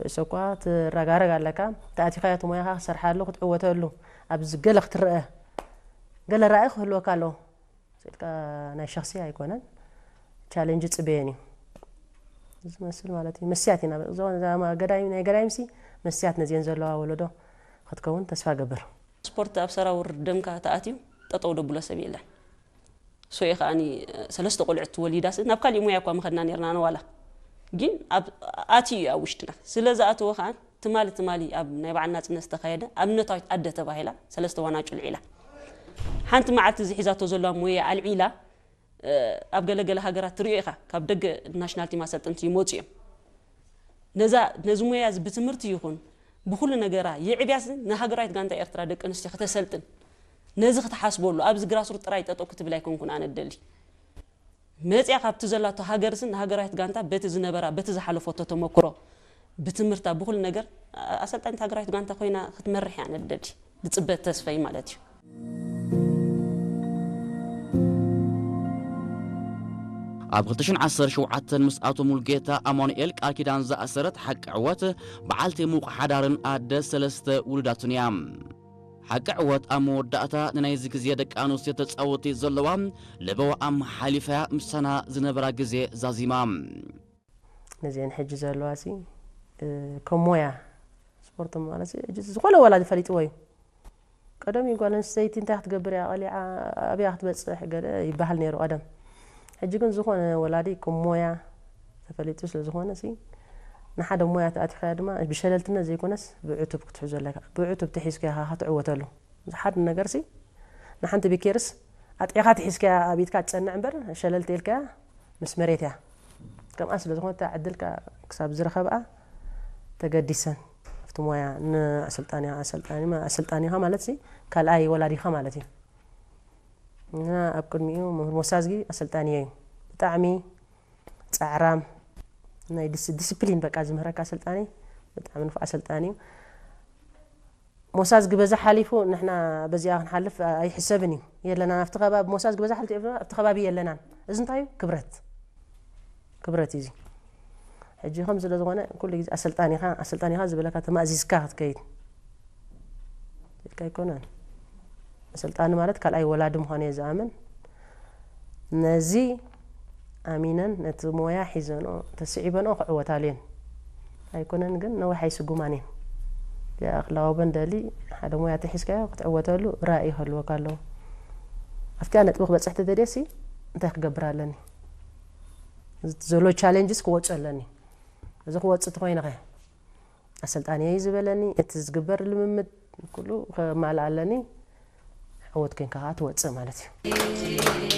እሱ እኳ ትረጋረግ ኣለካ፣ ተኣቲኻዮ እቲ ሞያኻ ክትሰርሓሉ ክትዕወተሉ ኣብዚ ገለ ክትረአ፣ ገለ ራእይ ክህልወካ ኣለዎ። ስልካ ናይ ሸኽሲ ኣይኮነን፣ ቻሌንጅ ጽበየን እዩ ዝመስል ማለት እዩ። መስያት ኢና እዛ ገዳይም ናይ ገዳይምሲ መስያት ነዚአን ዘለዋ ወለዶ ክትከውን ተስፋ ገብር። ስፖርት ኣብ ሰራውር ደምካ ተኣትዩ ጠጠው ደብሎ ሰብ የለን። ሶየ ከዓኒ ሰለስተ ቆልዑት ወሊዳስ ናብ ካሊእ ሙያ እኳ መኸድና ነርና ነዋላ ግን ኣብ ኣትዩ እዩ ኣብ ውሽጥና። ስለ ዝኣተወ ከዓ ትማሊ ትማሊ ኣብ ናይ በዓል ናጽነት ዝተኻየደ ኣብነታዊት ኣደ ተባሂላ ሰለስተ ዋና ጭልዒላ ሓንቲ መዓልቲ እዚ ሒዛቶ ዘለዋ ሙያ ኣልዒላ ኣብ ገለገለ ሃገራት ትሪኦ ኢኻ። ካብ ደገ ናሽናል ቲም ኣሰልጥንቲ ይመፁ እዮም። ነዛ ነዚ ሙያ እዚ ብትምህርቲ ይኹን ብኩሉ ነገራ የዕብያስ ንሃገራዊት ጋንታ ኤርትራ ደቂ ኣንስትዮ ከተሰልጥን ነዚ ክትሓስበሉ ኣብዚ ግራስሩት ጥራይ ጠጠው ክትብል ኣይኮንኩን ኣነ ደሊ መፅያ ካብቲ ዘላቶ ሃገርስን ንሃገራዊት ጋንታ በቲ ዝነበራ በቲ ዝሓለፈቶ ተመክሮ ብትምህርታ ብኩሉ ነገር ኣሰልጣኒት ሃገራዊት ጋንታ ኮይና ክትመርሕ እያ ነደሊ ዝፅበት ተስፈይ ማለት እዩ። ኣብ ክልተ ሽሕን ዓሰርተ ሸውዓተን ምስ ኣቶ ሙልጌታ ኣማኑኤል ቃል ኪዳን ዝኣሰረት ሓቂ ዕወት በዓልቲ ሙቕ ሓዳርን ኣደ ሰለስተ ውሉዳትን እያ። ሓቂ ዕወት ኣብ መወዳእታ ንናይዚ ግዜ ደቂ ኣንስትዮ ተጻወቲ ዘለዋ ለበዋኣ ኣመሓሊፋያ ምሳና ዝነበራ ግዜ ዛዚማ። ነዚአን ሕጂ ዘለዋ ሲ ከም ሞያ ስፖርት ማለት ሕጂ ዝኾነ ወላዲ ፈሊጥዎ እዩ። ቀደም እዩ ጓል ኣንስተይቲ እንታይ ክትገብር እያ ቀሊዓ ኣብያ ክትበፅሕ ገለ ይበሃል ነይሩ ቀደም። ሕጂ ግን ዝኾነ ወላዲ ከም ሞያ ተፈሊጡ ስለ ዝኾነ ሲ ንሓደ ሞያ ተኣቲኻያ ድማ ብሸለልትነት ዘይኮነስ ብዕቱብ ክትሕዞ ኣለካ። ብዕቱብ ተሒዝካ ኢኻ ክትዕወተሉ። ሓደ ነገር ሲ ንሓንቲ ቢኬርስ ኣጥዒኻ ተሒዝካያ ኣብ ኢድካ ትፀንዕ እምበር ሸለልቲ ኢልካያ ምስ መሬት እያ። ከምኣ ስለ ዝኾነ እታ ዕድል ክሳብ ዝረኸብኣ ተገዲሰን ኣብቲ ሞያ ንኣሰልጣኒኻ ኣሰልጣኒኻ ማለት ሲ ካልኣይ ወላዲኻ ማለት እዩ። እና ኣብ ቅድሚኡ መምህር ሞሳዝጊ ኣሰልጣኒዮ እዩ። ብጣዕሚ ፃዕራም ናይ ዲስፕሊን በቃ ዝምህረካ ኣሰልጣኒ ብጣዕሚ ንፉዕ ኣሰልጣኒ እዩ። ሞሳዝጊ በዛ ሓሊፉ ንሕና በዚኣ ክንሓልፍ ኣይሕሰብን እዩ የለናን ኣብቲ ከባቢ ሞሳዝጊ በዛ ሓሊፉ ኣብቲ ከባቢ የለናን። እዚ እንታይ እዩ ክብረት ክብረት እዩ እዚ። ሕጂ ከም ስለ ዝኾነ ኩሉ ግዜ ኣሰልጣኒኻ ኣሰልጣኒኻ ዝበለካ ተማእዚዝካ ክትከይድ ኢልካ ኣይኮነን። ኣሰልጣኒ ማለት ካልኣይ ወላዲ ምዃኑ እየ ዝኣምን። ነዚ ኣሚነን ነቲ ሞያ ሒዘንኦ ተስዒበንኦ ክዕወታሉ እየን። ኣይኮነን ግን ነዊሕ ኣይስጉማን እየን። ክላወበን ደሊ ሓደ ሞያ ተሒዝካዮ ክትዕወተሉ ራእይ ይህልወካ ኣለዎ። ኣብቲኣ ነጥቢ ክበፅሕ ተደልየ ሲ እንታይ ክገብር ኣለኒ? ዘሎ ቻሌንጅስ ክወፁ ኣለኒ። እዚ ክወፅእ ተኮይነ ከ ኣሰልጣኒ እዩ ዝበለኒ እቲ ዝግበር ልምምድ ኩሉ ከማልእ ኣለኒ። ዕወት ኮይንካ ከዓ ትወፅእ ማለት እዩ።